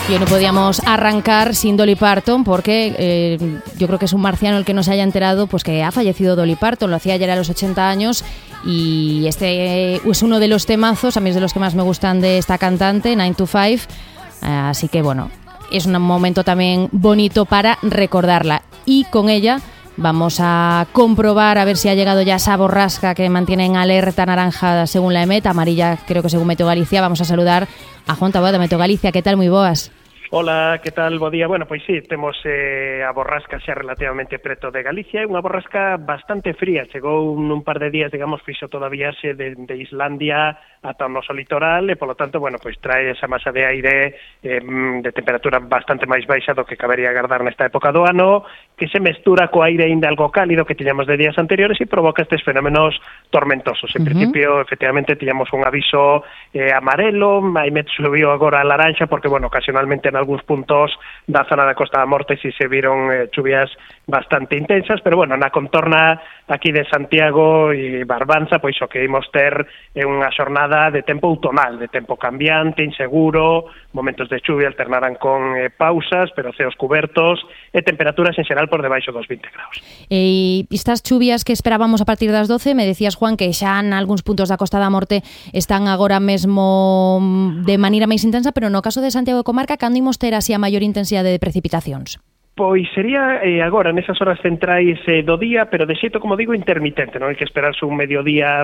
Y hoy no podíamos arrancar sin Dolly Parton porque yo creo que es un marciano el que no se haya enterado pues que ha fallecido Dolly Parton. Lo hacía ayer a los 80 años y este es uno de los temazos, a mí es de los que más me gustan de esta cantante, 9 to 5. Así que bueno, es un momento también bonito para recordarla. Y con ella vamos a comprobar a ver si ha llegado ya esa borrasca que mantiene en alerta naranja según la EMET, amarilla creo que según Meteo Galicia. Vamos a saludar a Juan Taboada de Meteo Galicia. Que tal, moi boas? Hola, que tal? Bo día. Bueno, pois sí, temos a borrasca xa relativamente preto de Galicia, é unha borrasca bastante fría, chegou nun par de días, digamos, fixo toda a viaxe de Islandia ata o noso litoral e, polo tanto, bueno, pois trae esa masa de aire de temperatura bastante máis baixa do que cabería agardar nesta época do ano, que se mestura co aire ainda algo cálido que tiñamos de días anteriores e provoca estes fenómenos tormentosos. En principio, efectivamente, tiñamos un aviso amarelo, a EMET subiu agora a laranxa porque, bueno, ocasionalmente en algúns puntos da zona da Costa da Morte si se viron chuvias bastante intensas, pero bueno, na contorna aquí de Santiago e Barbanza, pois o que imos ter é unha xornada de tempo outonal, de tempo cambiante, inseguro, momentos de chuvia alternarán con pausas, pero ceos cubertos e temperaturas en xeral por debaixo dos 20 graus. E estas chuvias que esperábamos a partir das 12, me decías, Juan, que xa en algúns puntos da Costa da Morte están agora mesmo de maneira máis intensa, pero no caso de Santiago de Comarca, cando imos ter así a maior intensidade de precipitacións? Pois sería agora, nesas horas centrais do día, pero de xeito, como digo, intermitente. Non hai que esperarse un mediodía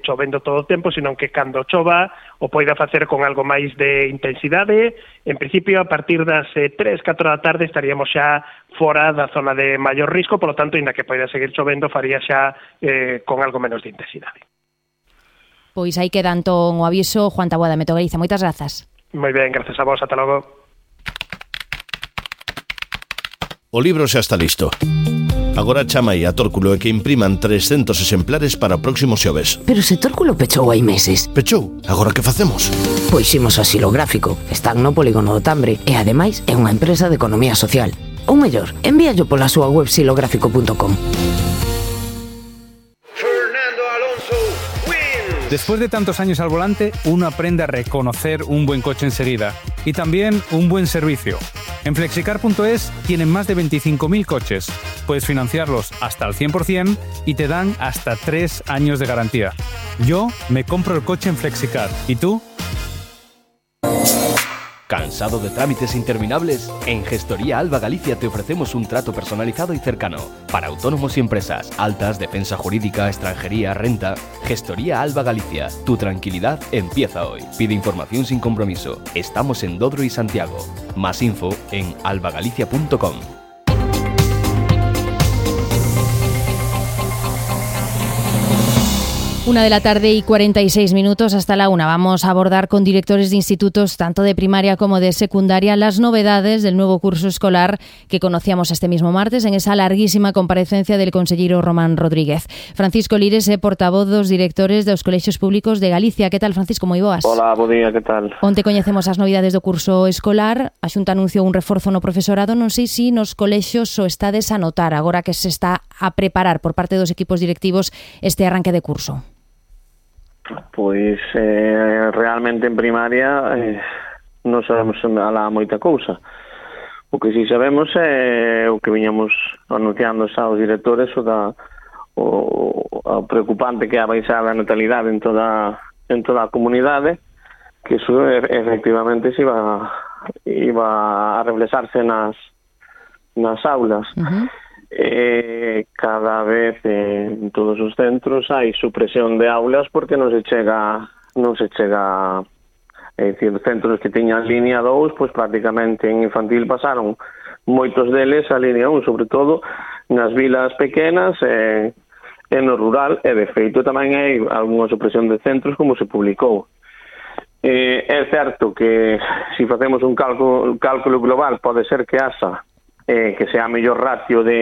chovendo todo o tempo, senón que cando chova o poida facer con algo máis de intensidade. En principio, a partir das 3-4 da tarde estaríamos xa fora da zona de maior risco, polo tanto, ainda que poida seguir chovendo, faría xa con algo menos de intensidade. Pois aí queda entón o aviso. Juan Taboada, Meteo Galicia, moitas grazas. Moi ben, gracias a vos, ata logo. O libro xa está listo. Agora chama aí a Tórculo e que impriman 300 exemplares para o próximo xoves. Pero se Tórculo pechou hai meses. Pechou? Agora que facemos? Pois imos ao Xilográfico. Están no Polígono do Tambre e ademais é unha empresa de economía social. Ou mellor, envíallo pola súa web xilográfico.com. Después de tantos años al volante, uno aprende a reconocer un buen coche enseguida y también un buen servicio. En Flexicar.es tienen más de 25.000 coches. Puedes financiarlos hasta al 100% y te dan hasta 3 años de garantía. Yo me compro el coche en Flexicar. ¿Y tú? ¿Cansado de trámites interminables? En Gestoría Alba Galicia te ofrecemos un trato personalizado y cercano para autónomos y empresas, altas, defensa jurídica, extranjería, renta. Gestoría Alba Galicia, tu tranquilidad empieza hoy. Pide información sin compromiso. Estamos en Dodro y Santiago. Más info en albagalicia.com. 1:46 p.m. hasta la 1. Vamos a abordar con directores de institutos, tanto de primaria como de secundaria, las novedades del nuevo curso escolar que conocíamos este mismo martes en esa larguísima comparecencia del consellero Román Rodríguez. Francisco Lires é portavoz dos directores dos colexios públicos de Galicia. Que tal, Francisco? Moi boas. Hola, bo día, que tal? Onte coñecemos as novidades do curso escolar. A Xunta anunciou un reforzo no profesorado. Non sei se nos colexios o estades a notar agora que se está a preparar por parte dos equipos directivos este arranque de curso. Pois realmente en primaria non sabemos alá moita cousa. O que si sabemos é o que viñamos anunciando xa os directores o preocupante que é a baixada a natalidade en toda a comunidade, que iso efectivamente se iba a reflexarse nas aulas. Cada vez en todos os centros hai supresión de aulas porque non se chega é dicir, centros que tiñan línea 2, pois prácticamente en infantil pasaron moitos deles a línea 1, sobre todo nas vilas pequenas e no rural, e de feito tamén hai algunha supresión de centros como se publicou. É certo que se facemos un cálculo global pode ser que haxa que sea a mellor ratio do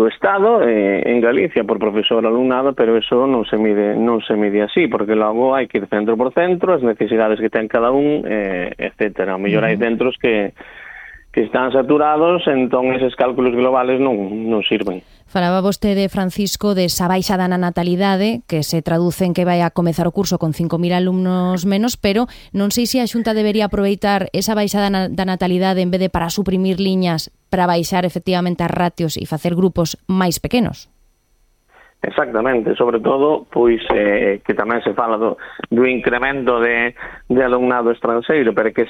Estado en Galicia por profesor alumnado, pero eso non se mide así, porque logo hai que ir centro por centro, as necesidades que ten cada un, etcétera. A mellor hai centros que están saturados, entón eses cálculos globales non sirven. Falaba vostede, Francisco, de esa baixada na natalidade, que se traduce en que vai a comezar o curso con 5.000 alumnos menos, pero non sei se a Xunta debería aproveitar esa baixada da natalidade en vez de para suprimir liñas, para baixar efectivamente as ratios e facer grupos máis pequenos. Exactamente, sobre todo, pois que tamén se fala do incremento de alumnado estranxeiro, pero que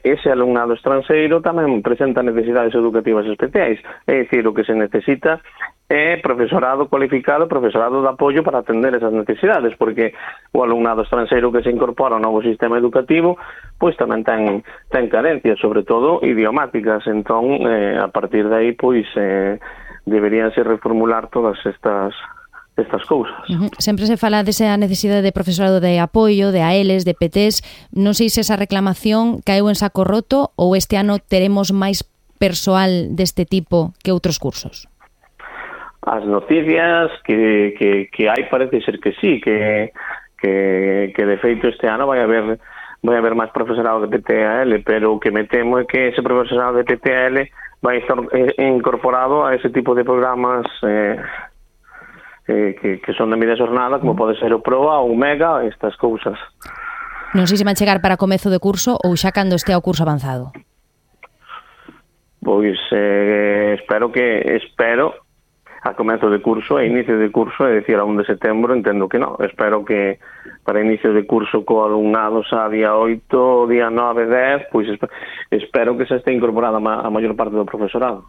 ese alumnado estranxeiro tamén presenta necesidades educativas especiais, é dicir, o que se necesita é profesorado cualificado, profesorado de apoio para atender esas necesidades, porque o alumnado estranxeiro que se incorpora ao novo sistema educativo pois tamén ten carencias, sobre todo idiomáticas, entón a partir de aí pois deberíanse reformular todas estas cousas. Sempre se fala desa necesidade de profesorado de apoio, de AELs, de PTs. Non sei se esa reclamación caeu en saco roto ou este ano teremos máis persoal deste tipo que outros cursos. As noticias que hai parece ser que sí, que de feito este ano vai haber máis profesorado de PTAL, pero o que me temo é que ese profesorado de PTAL vai estar incorporado a ese tipo de programas que son de media xornada, como pode ser o PROA ou o MEGA, estas cousas. Non sei se van chegar para comezo de curso ou xa cando estea o curso avanzado. Pois espero a comezo de curso, a inicio de curso, é dicir, a 1 de setembro, entendo que non. Espero que para inicio de curso co alumnado xa día 8, día 9, 10, pois espero que se este incorporada a maior parte do profesorado.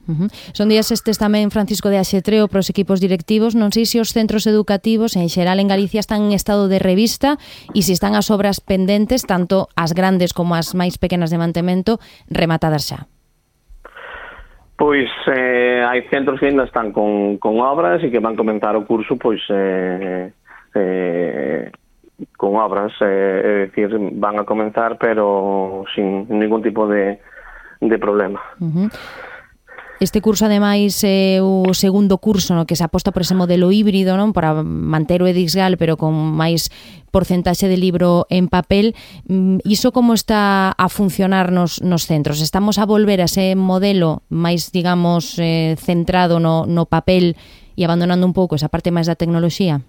Son días estes tamén, Francisco, de axetreo para os equipos directivos. Non sei se os centros educativos en xeral en Galicia están en estado de revista e se están as obras pendentes, tanto as grandes como as máis pequenas de mantemento, rematadas xa. Pois hai centros que ainda están con obras e que van comenzar o curso pois con obras, é dicir, van a comenzar pero sin ningún tipo de problema. Este curso, ademais, é o segundo curso no que se aposta por ese modelo híbrido, non, para manter o Edisgal, pero con máis porcentaxe de libro en papel. Iso como está a funcionar nos centros? Estamos a volver a ese modelo máis, digamos, centrado no papel e abandonando un pouco esa parte máis da tecnoloxía?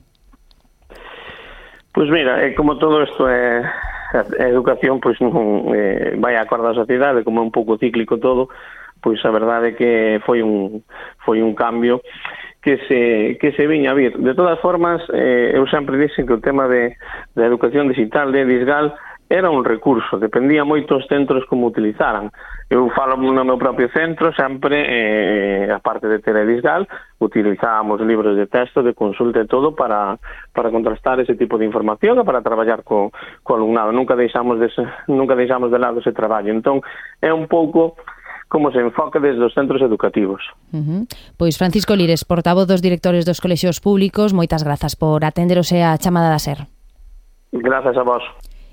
Pois mira, como todo isto é educación, pois non vai a acordo da sociedade, como é un pouco cíclico todo, pois a verdade é que foi un cambio que se viña a vir. De todas formas, eu sempre dixen que o tema da educación digital de Edisgal era un recurso, dependía moito os centros como utilizaran. Eu falo no meu propio centro, sempre, a parte de ter Edisgal, utilizábamos libros de texto, de consulta e todo para contrastar ese tipo de información e para traballar co alumnado. Nunca deixamos de lado ese traballo. Entón, é un pouco como se enfoca desde os centros educativos. Pois Francisco Lires, portavoz dos directores dos colexios públicos, moitas grazas por atenderos a chamada da SER. Grazas a vos.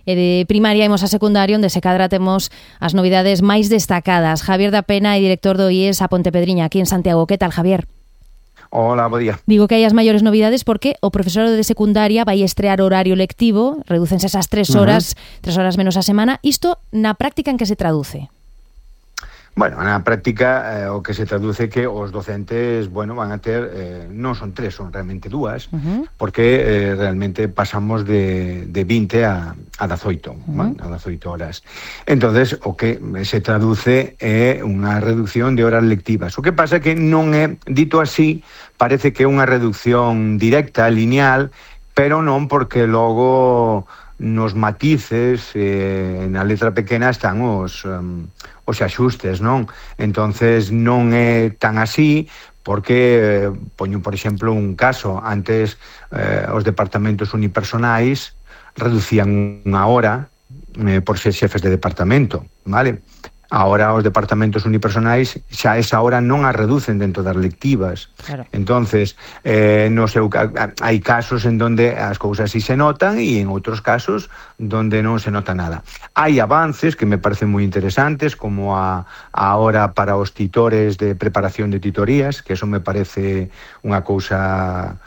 E de primaria imos a secundaria, onde se cadra temos as novidades máis destacadas. Javier da Pena é director do IES a Pontepedriña, aquí en Santiago. Que tal, Javier? Hola, bo día. Digo que hai as maiores novidades porque o profesorado de secundaria vai estrear horario lectivo, redúcense esas 3 horas, 3 horas menos a semana. Isto na práctica en que se traduce? Bueno, na práctica o que se traduce que os docentes, bueno, van a ter, non son 3, son realmente 2, porque realmente pasamos de 20 a 18, a 18 horas. Entonces, o que se traduce é unha reducción de horas lectivas. O que pasa que non é, dito así, parece que é unha reducción directa, lineal, pero non porque logo nos matices, na letra pequena están os axustes, non? Entonces non é tan así, porque poño, por exemplo, un caso. Antes os departamentos unipersonais reducían unha hora por ser xefes de departamento, vale? Ahora os departamentos unipersonais xa esa hora non a reducen dentro das lectivas. Claro. Entonces, hai casos en donde as cousas sí se notan e en outros casos donde non se nota nada. Hai avances que me parecen moi interesantes, como a hora para os titores de preparación de titorías, que eso me parece unha cousa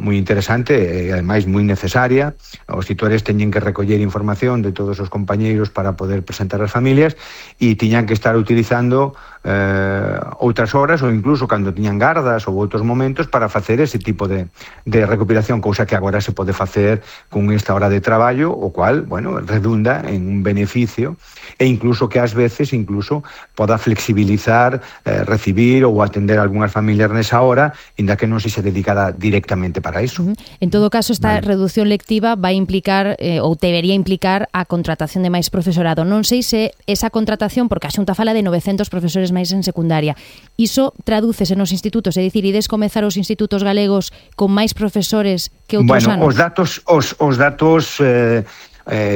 moi interesante e ademais moi necesaria. Os titores teñen que recoller información de todos os compañeiros para poder presentar as familias e tiñan que estar utilizando outras horas ou incluso cando tiñan gardas ou outros momentos para facer ese tipo de recopilación, cousa que agora se pode facer con esta hora de traballo, o cual, bueno, redunda en un beneficio e incluso que ás veces incluso poda flexibilizar recibir ou atender algunhas familias nesa hora, inda que non se dedicada directamente para iso. En todo caso, esta reducción lectiva vai implicar ou debería implicar a contratación de máis profesorado. Non sei se esa contratación, porque a Xunta fala de 900 profesores máis en secundaria, iso tradúcese nos institutos, é dicir, ides comezar os institutos galegos con máis profesores que outros anos? Os datos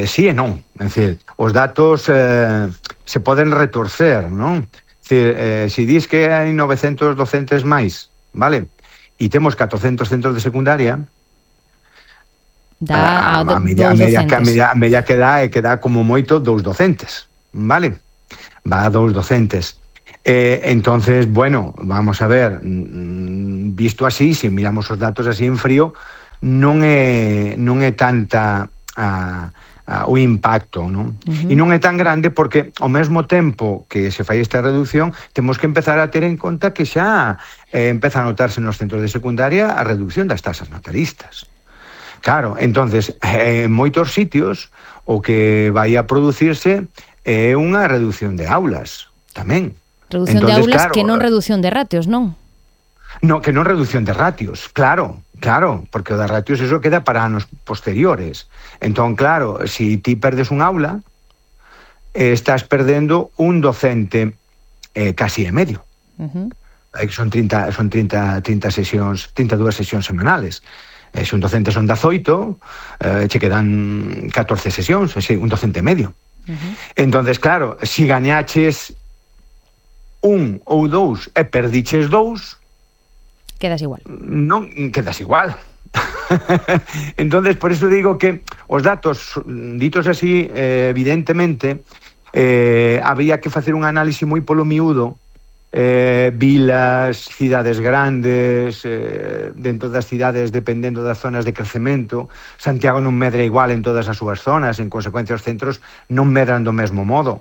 sí e non. É dicir, os datos se poden retorcer, non? É dicir, se dis que hai 900 docentes máis, vale? E temos 400 centros de secundaria, a media que dá como moito 2 docentes, vale? Va a 2 docentes. Entonces, bueno, vamos a ver, visto así, se miramos os datos así en frío, non é tanta o impacto, non? E non é tan grande porque ao mesmo tempo que se fai esta reducción, temos que empezar a ter en conta que xa empeza a notarse nos centros de secundaria a reducción das tasas natalistas. Claro, entonces, en moitos sitios o que vai a producirse é unha reducción de aulas, tamén. Reducción de aulas, claro, que non reducción de ratios, non? No, que non reducción de ratios, claro, porque o de ratios eso queda para anos posteriores. Entón, claro, si ti perdes un aula, estás perdendo un docente casi e medio. Son 32 sesións semanales. Se un docente son 18, che quedan 14 sesións, un docente medio. Entonces, claro, si gañaches un ou 2 e perdiches 2, quedas igual. Non quedas igual. Entonces, por eso digo que os datos, ditos así, evidentemente, había que facer un análisis moi polo miúdo, vilas, cidades grandes, dentro das cidades dependendo das zonas de crecemento. Santiago non medra igual en todas as súas zonas, en consecuencia os centros non medran do mesmo modo.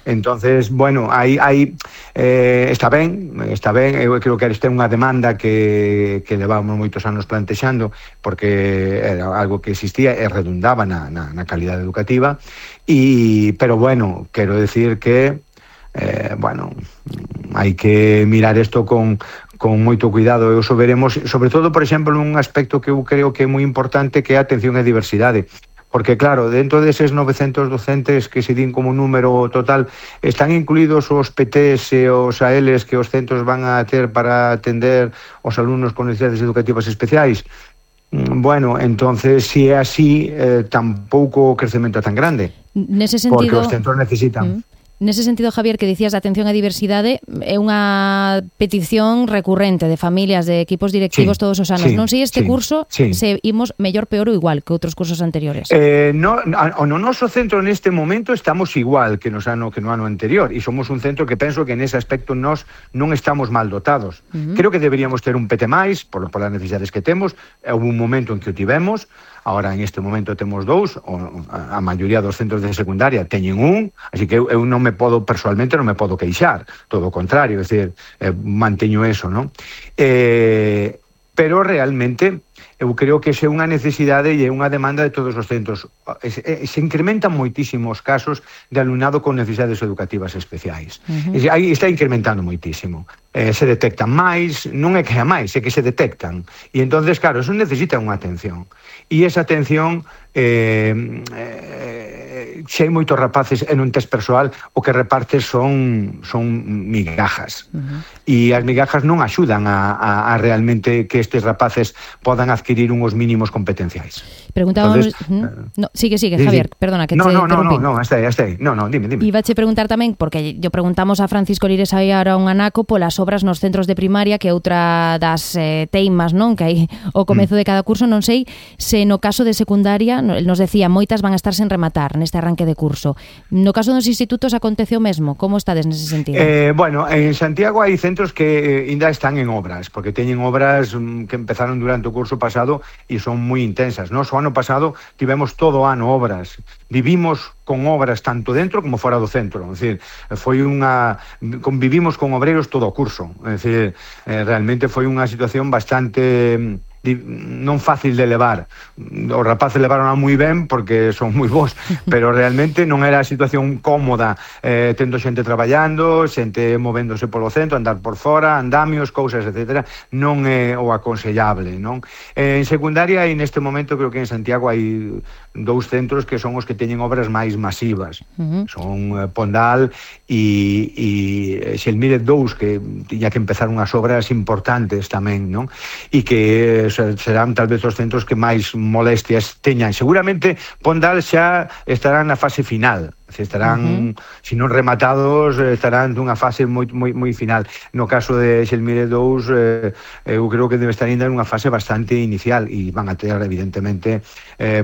Entonces, bueno, aí está ben, eu creo que esta é unha demanda que levamos moitos anos plantexando, porque era algo que existía e redundaba na calidade educativa, pero bueno, quero decir que bueno, hai que mirar isto con moito cuidado, e iso veremos, sobre todo, por exemplo, nun aspecto que eu creo que é moi importante, que é a atención e diversidade, porque claro, dentro deses 900 docentes que se din como número total, están incluídos os PTs e os ALs que os centros van a ter para atender os alumnos con necesidades educativas especiais. Bueno, entonces, si é así, tampouco o crecemento é tan grande, nese sentido, porque os centros necesitan. Nese sentido, Javier, que dicías de atención á diversidade, é unha petición recurrente de familias, de equipos directivos todos os anos. Non sei este curso se imos mellor, peor ou igual que outros cursos anteriores. No noso centro neste momento estamos igual que no ano anterior, e somos un centro que penso que nese aspecto nós non estamos mal dotados. Creo que deberíamos ter un PT máis polas necesidades que temos. Houve un momento en que o tivemos. Ahora, en este momento, temos 2, a maioría dos centros de secundaria teñen un, así que eu non me podo, personalmente, non me podo queixar, todo o contrario, é dicir, manteño eso, non? Pero, realmente, eu creo que é unha necesidade e é unha demanda de todos os centros. Se incrementan moitísimos casos de alumnado con necesidades educativas especiais. Aí está incrementando moitísimo. Se detectan máis, non é que a máis, é que se detectan. E entonces, claro, eso necesita unha atención. E esa atención, se hai moitos rapaces en un test persoal, o que repartes son migajas. E as migajas non axudan a realmente que estes rapaces podan adquirir unhos mínimos competenciais. Preguntábamos... Sigue, Javier, perdona que te interrumpí. No, hasta aí. No, dime. Ibache preguntar tamén, porque yo preguntamos a Francisco Lires aí ahora un anaco polas obras nos centros de primaria, que é outra das teimas, non? Que hai o comezo de cada curso, non sei se no caso de secundaria, nos decía, moitas van a estar sen rematar nesta arranque de curso. No caso dos institutos acontece o mesmo? Como estades nese sentido? Bueno, en Santiago hai centros que ainda están en obras, porque teñen obras que empezaron durante o curso pasado e son moi intensas. Nos o ano pasado tivemos todo o ano obras. Vivimos con obras tanto dentro como fora do centro. É dicir, convivimos con obreiros todo o curso. É dicir, realmente foi unha situación bastante non fácil de levar. Os rapaces levaron moi ben porque son moi bons, pero realmente non era a situación cómoda, tendo xente traballando, xente movéndose polo centro, andar por fora, andamios, cousas, etc. Non é o aconsellable, non? En secundaria, e neste momento creo que en Santiago hai 2 centros que son os que teñen obras máis masivas. Son Pondal e Xelmírez 2, que tiña que empezar unhas obras importantes tamén, non? E que serán tal vez os centros que máis molestias teñan. Seguramente Pondal xa estarán na fase final, estarán, se non rematados, estarán nunha fase moi final. No caso de Xelmírez 2, eu creo que debe estar ainda nunha fase bastante inicial e van a ter, evidentemente,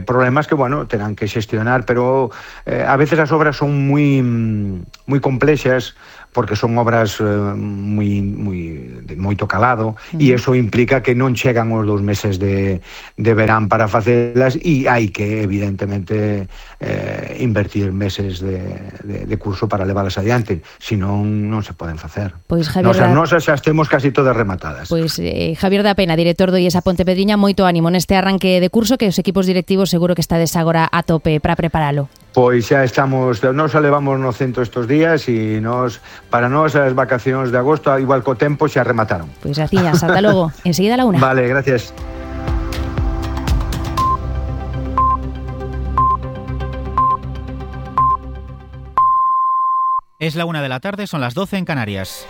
problemas que, bueno, terán que xestionar, pero a veces as obras son moi complexas, porque son obras de moito calado, e iso implica que non chegan os 2 meses de verán para facelas, e hai que, evidentemente, invertir meses de curso para leválas adiante, senón non se poden facer. Pois Javier Nosas xa temos casi todas rematadas. Pois Javier da Pena, director do IES Pontepedriña, moito ánimo neste arranque de curso, que os equipos directivos seguro que estades agora a tope para preparalo. Pois xa estamos, nos levamos no centro estes días e para nós as vacacións de agosto, igual co tempo, xa remataron. Pois graciñas, ata logo. Enseguida a la 1. Vale, gracias. Es la 1 de la tarde, son las 12 en Canarias.